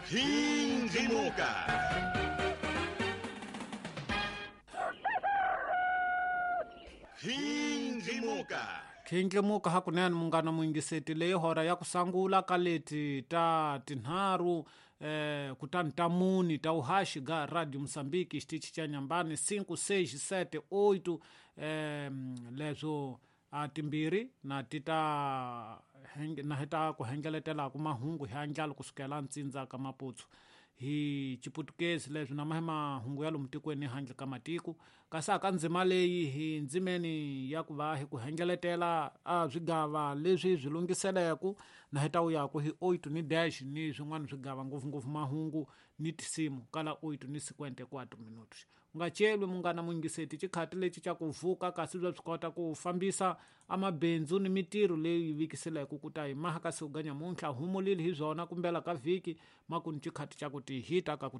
Khindlimuka. Khindlimuka. Khindlimuka hakunene munghana muyingiseti leyi hora ya ku sangula ka leti ta tinharhu kutani ta muni ta uhaxi ga Radio Mozambique xitichi xa Nyambani 5 6 7 8 leswo a timbirhi na ti ta na hi ta ku hengeletelaku mahungu hi andlalo kusukela ntsindza ka Maputsu hi Chiputukezi leswi na mahi mahungu ya lomu tikweni handle ka matiko kasi aka ndzima leyi hi ndzimeni ya ku va hi ku hengeletela a swigava leswi swi lunghiseleku na hi ta wu yaku hi 8 ni dash ni swin'wana swigava ngopfungopfu mahungu ni tisimu kala 8 ni 54 minutos. U nga celwi munghana muyingiseti xikhati lexi xa ku vuka kasi bya swi kota ku fambisa amabindzu ni mitirho leyi vikiseleke ku ta hi maha kasi u nyamuntlha humulile hi byona kumbela ka vhiki makuni xikhati xa ku ti hita ka ku.